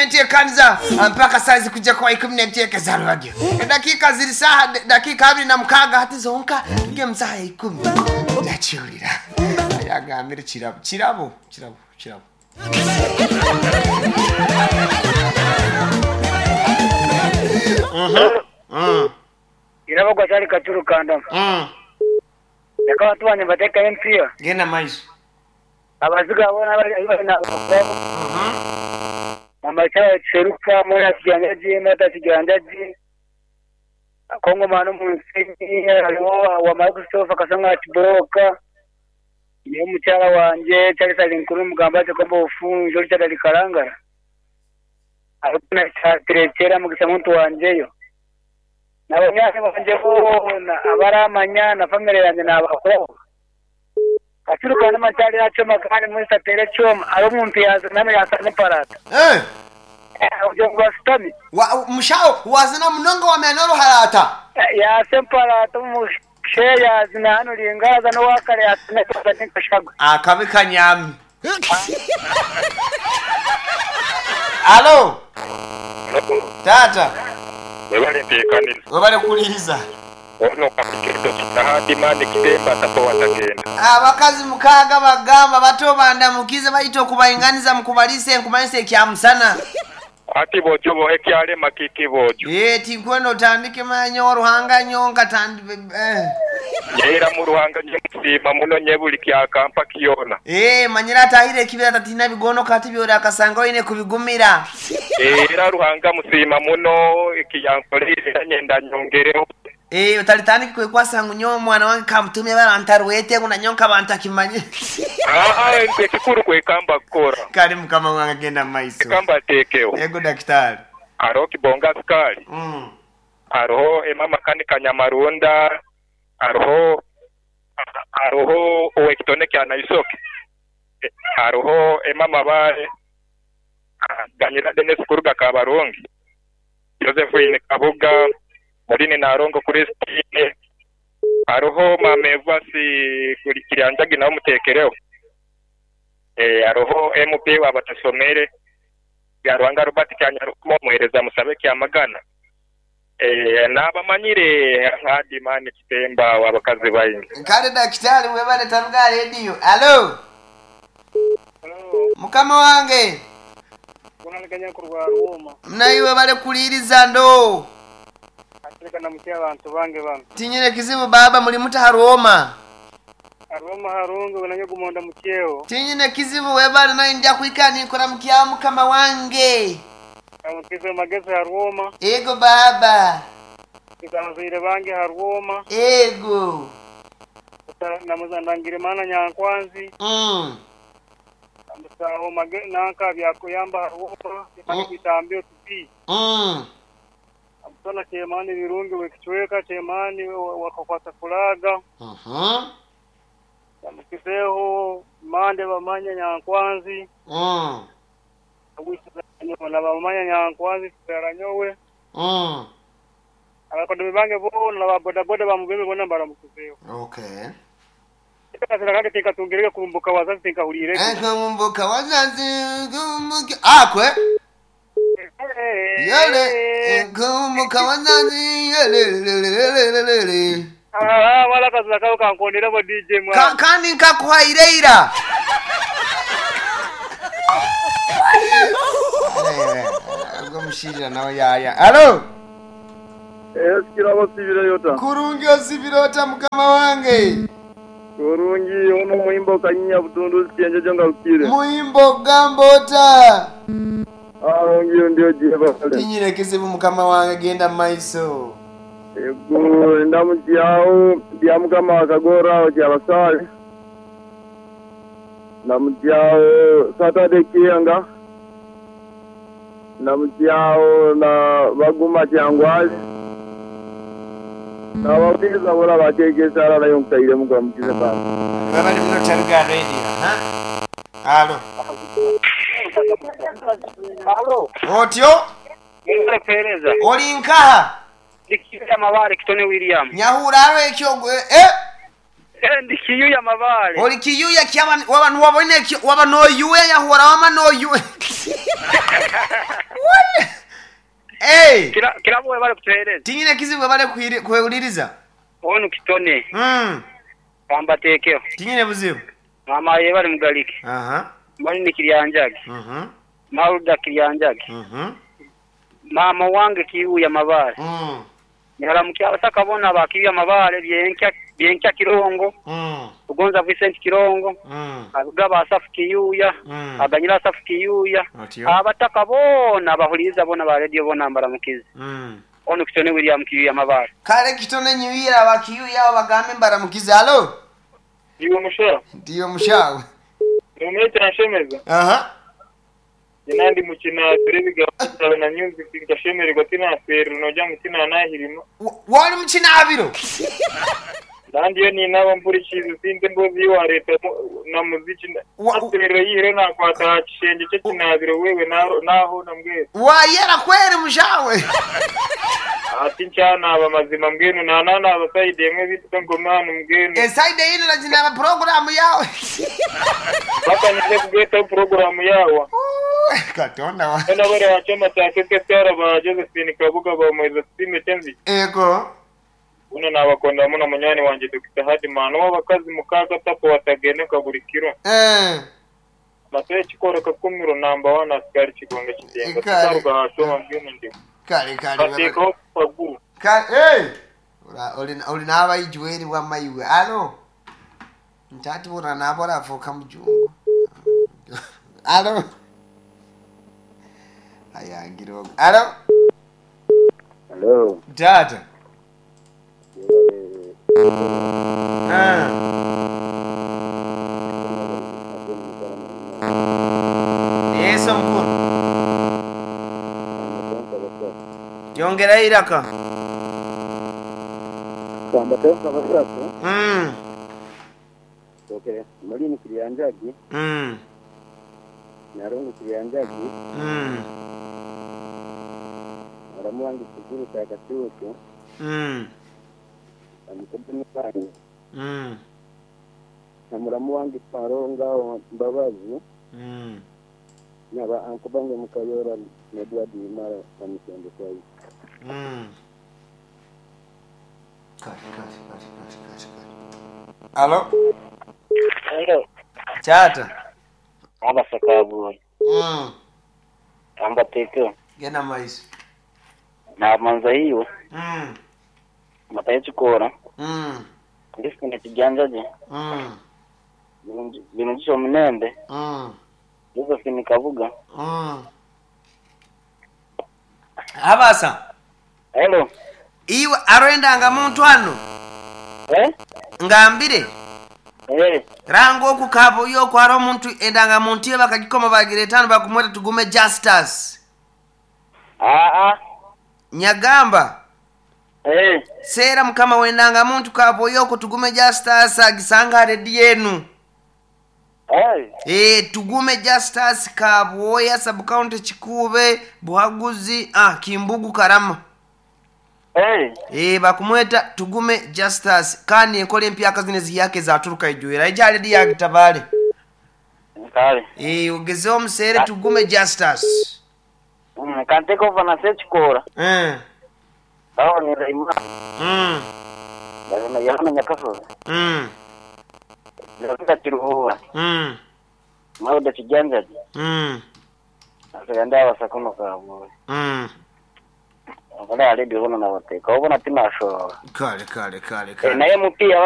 Nenteekaniza mpaka saa zikujja kuba 12 za rwagyo. Eddakiika ziri saaha dakiika 26 hati zonka tujye mu saaha ya 10. Ndakiwulira. Yagambire kirabo kirabo kirabo kirabo. Iraba gwa cyari katuru kandama. Reka abaturanyi bateka MPR. Genda maiso. Abaziga bona bari na mama cyara seruka mora kijanja ji mata kijanja ji. Kongo mano munsi hariho wa Microsoft akasanga ati broka. Niyo mucyara wanje cyari sari nkuru mugamba cyo kombo ufunjo cyari karangara. Ariko cyaterekera mu gisamuntu wanjeyo. Nabanyane banje bona abaramanya na family yanjye nabakora. Aturuka n'amatari yacoma kandi muri satere cyoma ari umuntu yaza name yasane parata. Ujo ngwastami. Wa mushao wazina munonga wa menoro harata. Yase parata mu sheya zina hano lingaza no wakare yasane parata nkashagwa. Akabi kanyami. Alo. Tata. Webale nteekaniza. Webale kuliza. Ono kapikirito kitahadi mani kitemba tapo watagenda. Abakazi mukaaga bagamba bato bandamukize bayita okubayinganiza mukubalise nkumalise ekyamusana. Ati bojo bo ekyalema kiki bojo. Tinkwenda otandike manyo oruhanga nyonka tandi Yera mu ruhanga nye musiima muno nye buli kyakampa kiyona. Manyira atahire ekibira tatina bigono kati byora akasanga oyine kubigumira. Era ruhanga musiima muno ekiyankolere nyenda nyongereho. Utalitandika kwekwasa ngu nyowe omwana wange kamutumye barantarwete ngu nanyonka bantakimanye. Ekikuru kwekamba kukora. Kale mukama wange agenda mu maiso. Ekamba ateekeho. Ego dakitari. Hariho Kibonga Sukali. Hariho Emma Makanika Nyamarunda. Hariho owekitone kya Naisoke. Hariho Emma Mabare. Ganyira Dennis Kuruga Kabarungi. Josephine Kabuga. Muline Narongo Christine. Hariho Mame Vasi Kiryanjagi nawe mutekereho. Hariho MP wabatasomere. Byaruhanga Robert Kyanyarukumo muhereza musabe kyamagana. N'abamanyire hadi mani kitemba wabakazi bayingi. Kale dakitari webale taruga radio. Alo. Mukama wange. Unaniganya kurwa Roma. Mnaiwe bale kuliriza ndo. Atireka na mutia abantu bange bano. Tinyine kizibu baba muri muta Roma. Roma harungu unanye gumonda mukeo. Tinyine kizibu webale nayo nja kuikani nkora mkia mukama wange. Amukize magezi ha Roma. Ego baba. Kizamuzaire bange ha Roma. Ego. Namuzandangire mana nyankwanzi. Amusaho nanka byakuyamba ha Roma. Bitambyo tupi. Amusana chemani birungi wekichweka chemani wakakwata kulaga. Amukizeho mande bamanya nyankwanzi. Na bamanya nyankwanzi tsaranyowe. Abakodo bange bona na boda boda bamubebe bona baramukizeho. Okay. Kasira tinkatungereka kumbuka wazazi tinkahulire. Kumbuka wazazi kumbuka akwe. Yele kumbuka wazazi yele. Wala kasira kao kankondera bo DJ mwa. Kandi nkakuhaireira. Ngomushirira nawe yaya. Alo. Kirabo sibirota. Kurungi osibirota mukama wange. Kurungi ono muhimbo kanyinya butundu sienje jonga ukire. Muhimbo gambota. Arungi ndio jiba. Tinyire kizibu mukama wange genda maiso. Ego ndamujyao bya mukama wakagora okyabasale. Ndamujyao Saturday kiyanga. Ndamujyao na baguma kyangwazi. Nababwiza bora bakegesa ara nayo nkaire mugamukize bana. Babali muno taruga radio, ha? Alo. Alo. Otyo? Ngere pereza. Oli nkaha? Ndikiyuya mabare kitone William. Nyahura aro ekyo Ndikiyuya mabare. Oli kiyuya kyaba waba nuwabone waba no yuwe nyahura wama no yuwe. Eh, Kirabo webale kutuheereza. Tinyine kizibu bale kuhuliriza. Onu kitone. Kambateekeho. Tinyine buzibu. Mama yebale mugalike. Aha. Malini Kiryanjage. Maruda Kiryanjage. Mama wange Kiuya Mabale. Nyaramukia abasaka bona ba Kiuya Mabale byenkya Kirongo. Ugonza Vincent Kirongo. Abigaba Asafu Kiyuya. Aganyira Asafu Kiyuya. Abataka bona abahuliza bona ba radio bona mbaramukize. Ono kitone William Kiyuya Mabale. Kale kitone nyuira wa Kiyuya bagambe mbaramukize. Halo. Ndiyo mushawe. Ndiyo mushawe. Numete nshemeza. Aha. Nandi mukina turebiga na music nkashemererwa tinafera noja mutina nahirimo. Wali mukina abiro. Nandi yo ninaba mpurikiza sinde mbozi wa leta na muziki aserera yire nakwata kishenge cyo kinabiro wewe naho namwe. Wayera kweri mushawe. Ati nchana aba mazima mbwenu nanana abasaide yemwe bituka ngomana mbwenu. Esaide ino na program yawe. Baka nije kugeta program yawe. Katonda wa. Ena bari wachoma takeke cyara ba Josephine Kabuga ba Moize Sime Tenzi. Ego. Uno nabakonda muno munyani wanje Dr. Hadimana wabakazi mukaga tapo watagene kaburi kiro. Matoye chikoro kakumiro namba 1 askari chigonga chidenga. Taruga hashoma mbwenu ndi. Kale kale. Bateko pagu. Kale eh. Ora oli naba ijueri wa maiwe. Alo. Ntati bora nabora afoka mujungu. Alo. Ayangiro. Alo. Hello. Tata. Yeso mkuru. Yongera iraka. Kambatenka basatu. Okay, Malini Kiryanjagi. Narongo Kiryanjagi. Aramuwangi Kiguru Takatuku. Amukubini wange. Na muramu wange Paronga Mbabazi. Naba ankubange mukayora Edward Imara amusende kwayi. Kare. Alo. Hello. Tata. Abasakabu. Ambateko. Gena maiso. Na manza hiyo. Mataye chikora. Ndifuna kijanjaje. Binujisho mnembe. Josephine Kabuga. Abasa. Hello. Iwe arendanga muntu ano. Eh? Ngambire. Eh. Rango okukabo yo kwaro omuntu endanga muntu ye bakagikoma bagiretano bakumweta tugume Justus. Nyagamba. Eh. Sera mukama wendanga muntu kabo yoko tugume Justus agisanga redi yenu. Eh. Tugume Justus Kabwoya sub county Chikube Buhaguzi Kimbugu Karama. Eh bakumweta tugume Justus kani enkole empya kazine ziyake zaturuka ijuera ija redi ya kitabale. Kale. Eh ogeze omusere tugume Justus. Kanteko vana sechikora. Aho ni Raima. Ndabona yahana nyakasoza. Ndabona kiruhura. Mauda kijanjaje. Asaganda abasakono kabwe. Ngala aledi ubona nabateka ubona tinashora. Kale. Naye mupia